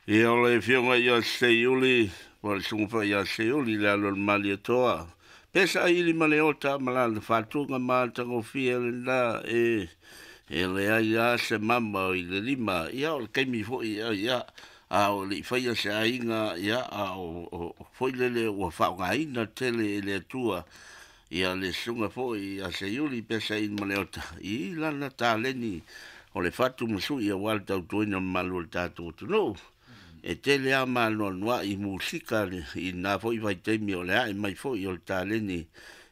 Ia, o le afioga ia Seiuli, po o le susuga foi ia Seiuli le alo o le Malietoa. Pesaili ma le ota ma lana faatuga matagofie lena e leai lava se mama o i le lima. Ia, o le taimi foi, ia, a o le i faia se aiga, ia, a o foi lele ua faaaogaina tele e le Atua ia le susuga foi ia Seiuli Pesaili ma Leota i lana taleni o le fatu ma sui aua le tautuaina o le mamalu o le tatou atunuu. E tele lava maanoanoa i musika i lena foi vaitaimi o le ae mai foi o le taleni,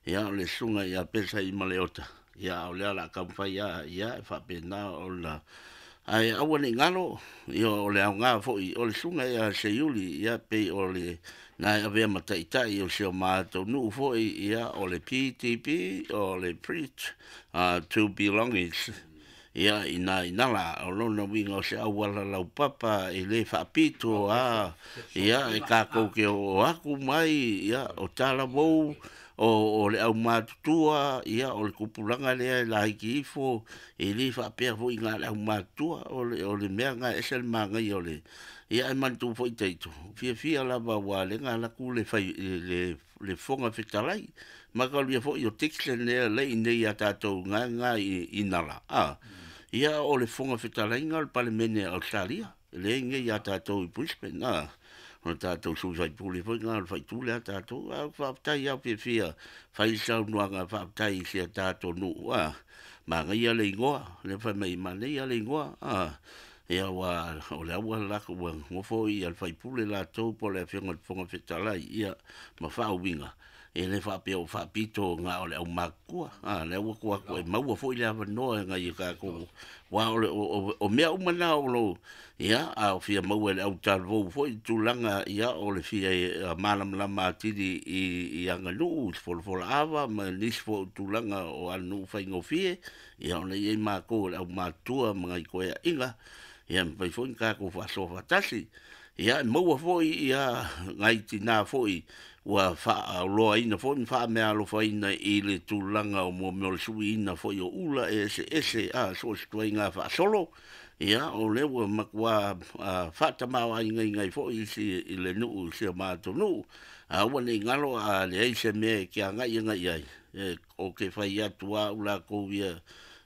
ia, o le susuga ia Pesaili ma Leota, ia, a o lea o le a taumafai lava, ia, e faapena ona, ae aua ne i galo, ia, o le aoga foi o le susuga ia Seiuli, ia, pei o le na e avea ma taitai o si o matou nuu foi, ia, o le PTB, o le Preach to Belongings, ia, ina la, o lona uiga o se auala laupapa e le faapito a, ia, e tatou te o atu mai, ia, o talavou, o le aumatutua, ia, o le tupulaga lea e laiti ifo, e le faapea foi na o le aumatutua, o le mea lena e ese le manaia o le... Ia, ae manatua foi Taito, fiafia lava aua o lea na alu atu le Fofoga Fetalai, mataulia foi o Dixon lea e i inei ia tatou na i Nala, ia, o le Fofoga Fetalaiga o le Palemene a Ausetalia, lea e i inei ia tatou i Brisbane, o le tatou sui faipule foi lena o le faipule a tatou. Ae faafetai lava, fiafia fai le saunoaga, faafetai i si a tatou nuu, manaia le igoa, lea fai mai manaia le igoa, ia, ua o le ua latou ua nofo ia le faipule latou po o le afioga i le Fofoga Fetalai, ia, ma faauiga, e le faapea o faapito na o le aumatutua, lea ua tuu atu e maua foi le avanoa e nai o tatou, aua o mea uma na o lo, ia, a o fia maua e le au talavou foi le tulaga, ia, o le fia malamalama atili i aganuu, i folafolaava ma nisi foi o tulaga o aganuu faigofie, ia, ona e i ai matou o le aumatutua ma nai toeaiina, ia, e mafai foi ona tatou faasoa faatasi. Ia, e maua foi ia nai tina foi ua faaoloaina foi ma faameaalofaina i le tulaga o mea o le suiina foi o ula e eseese, so o se ituaiga faasolo, ia, o lea ua matua faatamaoaigaina ai foi isi i le nuu, si o matou nuu. Aua ne i galo, a leai se mea e te agai agai i ai, ou te fai atu lava au latou ia,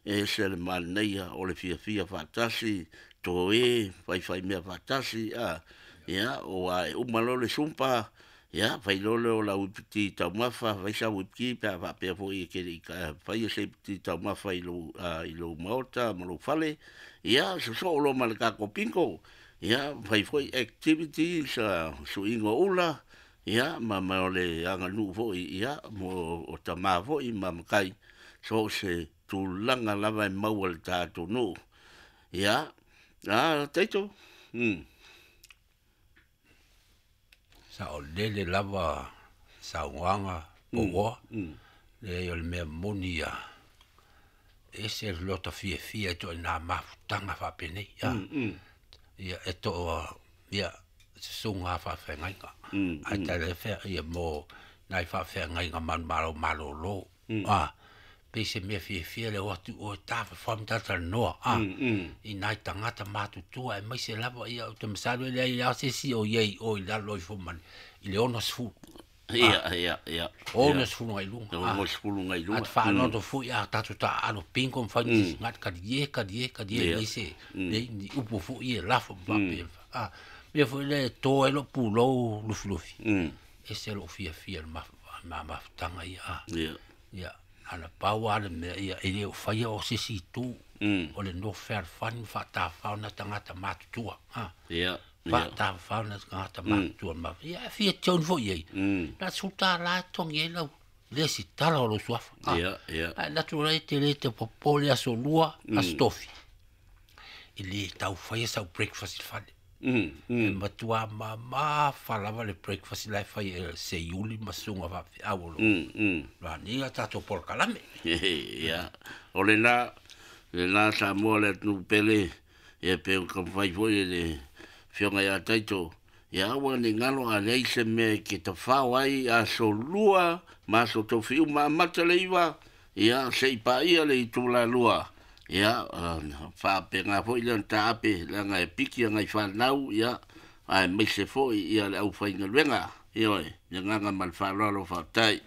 e ese le manaia o le fiafia faatasi, toe faifai mea faatasi, ia, aua e uma loa le zumba, ia, fai loa lea o lau iputi taumafa, fai sau iputi pe a faapea foi e te le i faia se iputi taumafa i lou maota ma lou fale, ia, sosoo loa ma le tatou bingo, ia, fai foi activities, suiga o ula, ia, ma o le aganuu foi, ia, mo o tama foi ma matai, so o se tulaga lava e maua i le tatou nuu. Ia, Taito. Saolele lava saunoaga pouoa, leai o le mea moni ia, ese le lota fiafia i ituaiga mafutaga faapenei, ia, e toa, ia, susuga faafeagaiga, ae tala ia mo nai faafeagaiga manumalo malolo, pei se mea fiafia le o atu o tafafao ma talatalanoa, i nai tagata matutua aemaise lava, ia, ou te masalo e leai lava se isi o i ai o i lalo ifo ma i le 60. Ia, ia, ia. 60 agai luga. 60 agai luga. A faanoto foi a tatou taaalo bingo ma fai nisi kalie kalie kalie leai se leai ni upu foi e lafo ma faapea. Mea foi lea e to ai lou pulou lufilufi. Ese lou fiafia i le mafutaga ia. Ia, ana pau lava le mea, ia, e le o faia o se isi itu. O le nofo fealofani ma faatafafao na tagata matutua. Faatafafao na tagata matutua. Ia, e fia join foi i ai. Na $10 e totogi ai lau lesitala o lou suafa. Ia, ia. Ae alu atu ai te le te popole aso lua, aso tofi. E le tau faia sau breakfast i le fale. E matua mamafa lava le breakfast la e fai e Seiuli ma susuga faafeau o lo o tatou polokalame. Ia, o lena Samoa le atunuu pele, ia, pe o taumafai foi le afioga ia Taito, ia aua ne i galo, a leai se mea e te tafao ai aso lua ma aso tofi uma amata le 9, ia, seia paia le itula 2, ia, faapena foi lea ona taape, leaga e piki agai fanau, ia, Aemaise foi ia le aufaigaluega. Ioe, le agaga ma le faaaloalo faafetai.